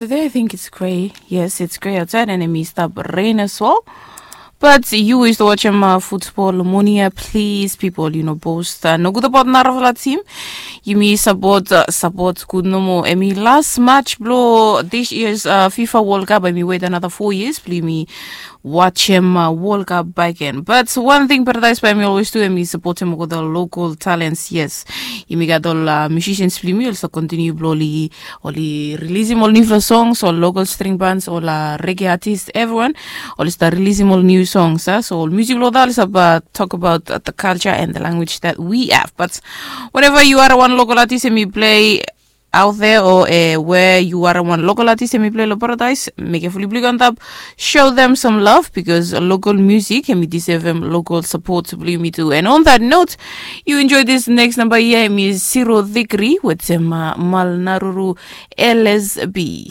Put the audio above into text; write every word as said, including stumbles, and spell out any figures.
Today I think it's gray. Yes, it's gray outside and hemi stap rain as well. But yu we stap watchem uh, football moni ya, please people, you know, boast uh, nogut about narafala team. Yumi support uh, support good nomo. Hemi last match blo this year's uh, FIFA World Cup. Hemi wait another four years. Blo yumi watchem uh, World Cup back in. But one thing Paradise by me always do, hemi supportem all the local talents. Yes, yumi gat ol uh, musicians blo yumi also continue blo oli oli releasem ol newfala songs, ol local string bands, ol uh, reggae artist, everyone oli start releasem ol new songs uh, so ol music lo that oli start uh, talk about uh, the culture and the language that we have. But whenever you are one local artist and we play out there or uh, where you are one local artist and we play lo Paradise, make a fully blue on top, show them some love because local music and we deserve them local support to blo yumi too. And on that note, you enjoy this next number here, hemi Zero Degree with them uh, Malnaruru L S B.